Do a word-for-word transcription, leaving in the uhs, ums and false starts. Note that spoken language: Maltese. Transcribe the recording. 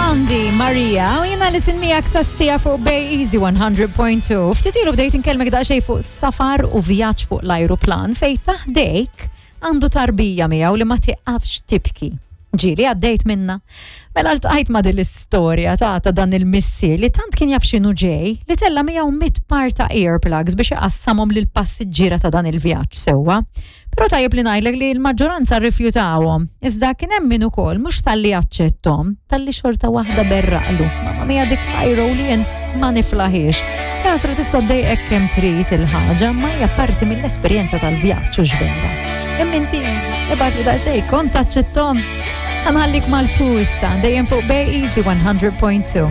Blondie, Maria, u jiena li sin miegħek sassija fuq Bay Easy one hundred point two. Ftit ilu bdejt inkellmek daqsxejn fuq safar u vjaġġ fuq l-ajruplan fej ta' ħdejk għandu tarbija miegħu li ma tiqafx tibki. Ġieli għaddejt minna. Mela ltqajt ma' din l-istorja ta' ta' dan il-missier li tant kien jaf x'inhu ġej li tella miegħu mitt par ta' earplugs biex iqassamhom lil passiġġiera ta' dan il-vjaġġ sewwa. Però tajjeb li ngħidlek li l-maġġoranza rrifjutawhom. Iżda kien hemm min ukoll mhux talli aċċettahom, talli xorta waħda berraqlu. Mamma mia, dik ħajru li jien ma niflaħiex. Jasra, tista' ddejqek kemm trid il-ħaġa, ma hija parti mill-esperjenza tal-vjaġġ u x'vera. Imma inti ibgħatli daqsxejn, kont taċċettahom? Ħa nħallik mal-Pursa, dejjem fuq Bay Easy one hundred point two.